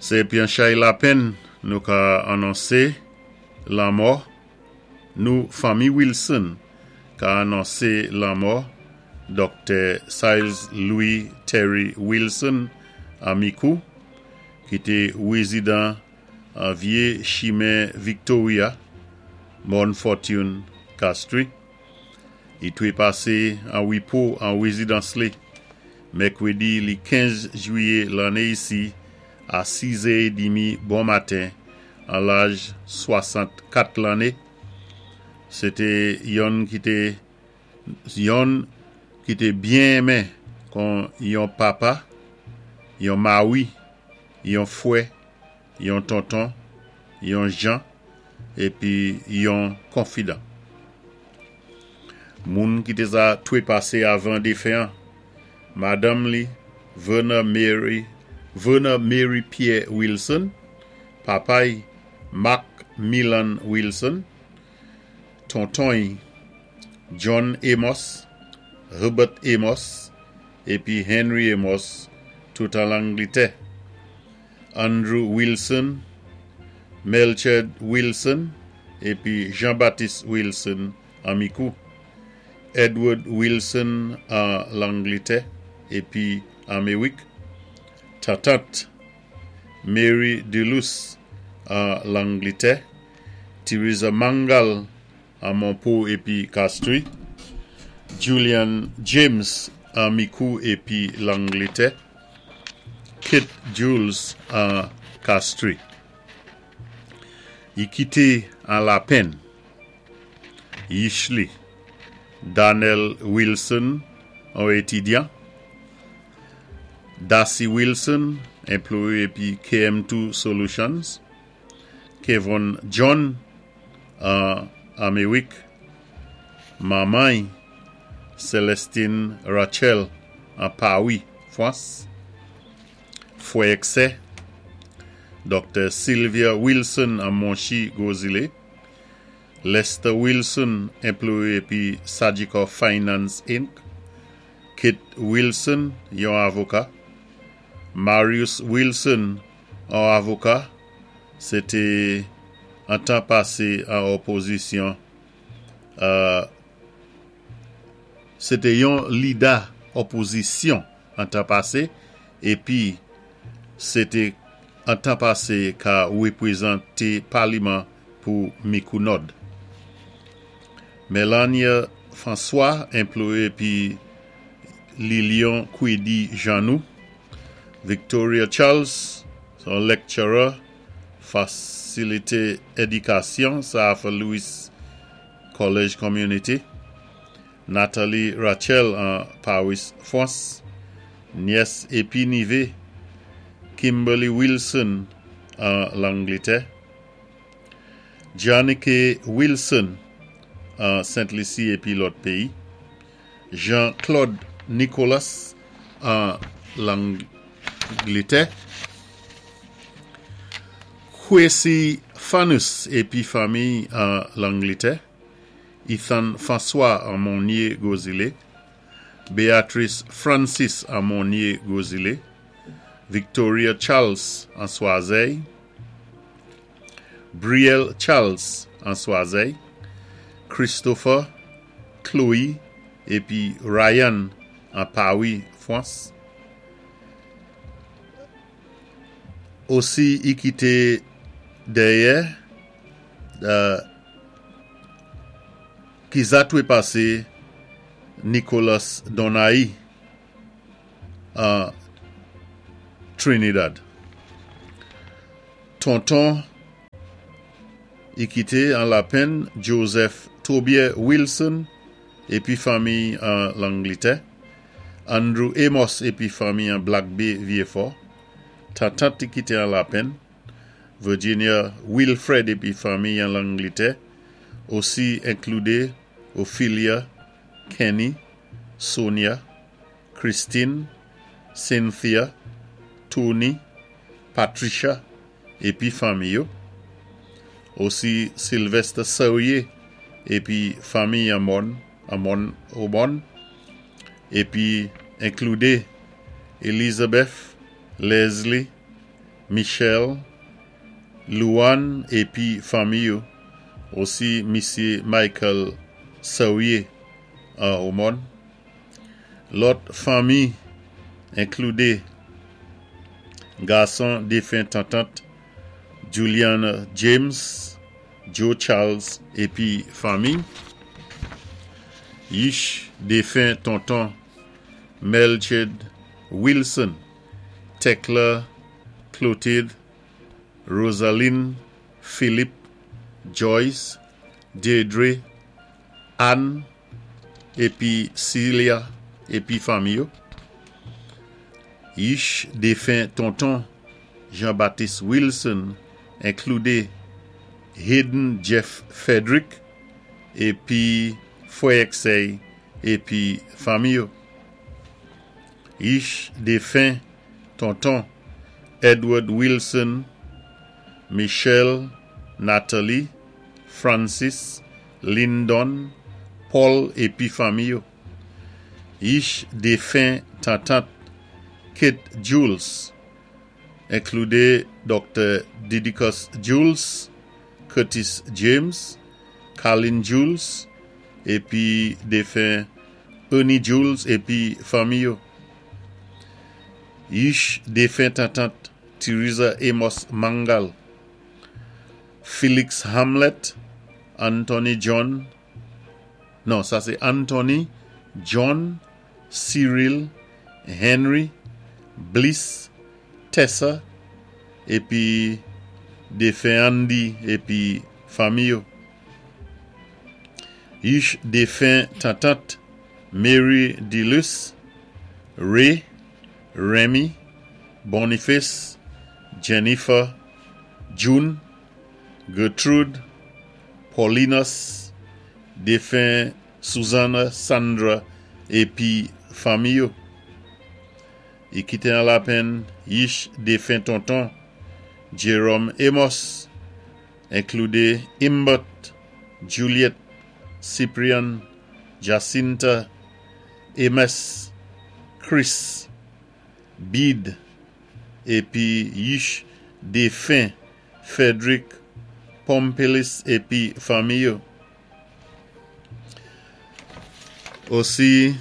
Sé épi an chay lapenn nou ka anonsé lanmò nou fanmi Wilson ka anonsé lanmò Doktè Siles Louis Terry Wilson an Mikou ki té wézidan an Vyé Chimen Victoria, Morne Fortune, Castries. I twé pasé an wépo an wézidans li mèkwédi li 15 jwiyé lanné isi a 6 zè édmi bon maten an laj 64 lanné. Sé té yonn ki té yonn ki té byen enmen kon yon papa, yon mawi, yon fwè, yon tonton, yon jan épi yon konfidan. Moun ki té za twé pasé avan défen an, madanm li Verna Mary Verna Mary Pierre Wilson, papa'y Mark Milan Wilson, tonton'y John Amos, Herbert Amos épi Henry Amos tout an Langlitè. Andrew Wilson, Melcherd Wilson épi Jean Baptiste Wilson an Mikou, Edward Wilson an Langlitè épi Anméwik, tantant Mary Duluce an Langlitè, Theresa Mangal an Monpo épi Castries, Julian James an Mikou épi Langlitè, Kate Jules an Castries. I kité an lapenn yich li Darnell Wilson on étidyan, Darcy Wilson enployé épi KM2 Solutions, Kevon John an Anméwik, manman'y Celestine Rachel an Pawi, Fwans, fwè èk sè, Doktè Sylvia Wilson an Monchi, Gwozilé, Lester Wilson, enployé épi Sagicor Finance Inc., Kate Wilson, yon avoka, Marius Wilson, on avoka, sé té an tan pasé an òpozisyon, sé té yon lida òpozisyon an tan pasé épi sé té an tan pasé ka wépwézanté paliman pou Mikou Nòd. Melania François, enployé épi Lilion Kwedi Jean-Nou, Victoria Charles, son lecturer Fasilité Édikasyon Sir Arthur Lewis College Community, Nathalie Rachel an Paris, Fwans, nyès épi nivé Kimberly Wilson an Langlitè, Giannike Wilson an Sent Lisi épi lòt péyi, Jean Claude Nicolas an Langlitè, Kwesi Fanus épi fanmiy an Langlitè, Ethan François an Monye Gwozilé, Beatrice Francis an Monye Gwozilé, Victoria Charles an Swazèy, Brielle Charles an Swazèy, Christopher, Chloé épi Ryan an Pawi, Fwans. Osi i kité dèyè ki za twé pasé Nicholas Donaï an Trinidad. Tonton i kité an lapenn Joseph Tobier Wilson épi fanmiy an Langlitè, Andrew Amos épi fanmiy an Black Bay, Vyéfò, tantant i kité an lapenn, Virginia Wilfred épi fanmiy an Langlitè, osi enkloudé Ophelia, Kenny, Sonia, Christine, Cynthia, Tony, Patricia épi fanmi yo, osi Sylvester Serrier épi fanmiy an Mòn an Mòn Omòn, épi enkloudé Elizabeth, Leslie, Michel, Luan épi fanmi yo, osi Misyé Michael Sawyer an Omòn. Lòt fanmi enkloudé gason défen tantant Juliana James, Joe Charles épi fanmi, yich défen tonton Melchard Wilson, Tekla Clotilde, Rosaline Philippe, Joyce, Deirdre, Anne épi Celia épi fanmi yo, yich défen tonton Jean-Baptiste Wilson enkloudé Hayden Jeff Frederick épi fwè èk sè épi fanmi yo. Yich défen tonton Edward Wilson, Michelle, Natalie, Francis, Lyndon, Paul épi fanmi yo. Yich défen tantant Kate Jules, enkloudé Dr. Didicus Jules, Curtis James, Carlin Jules, épi défen Ernie Jules épi fanmi yo. Yich défen tantant Theresa Amos Mangal, Felix Hamlet, Anthony John, non, sa sé Anthony, John, Cyril, Henry, Bliss, Tessa, épi défen Andy épi fanmi yo. Yich défen tantant Mary Dilus, Ray, Remy, Boniface, Jennifer, June, Gertrude, Paulinus, défen Susanna, Sandra épi fanmi yo. I kité an lapenn yich défen tonton Jerome Amos, enkloudé Imbert, Juliet, Cyprian, Jacinta, Amos, Chris, Bede, épi yich défen Frederick Pompilis épi fanmi yo. Osi.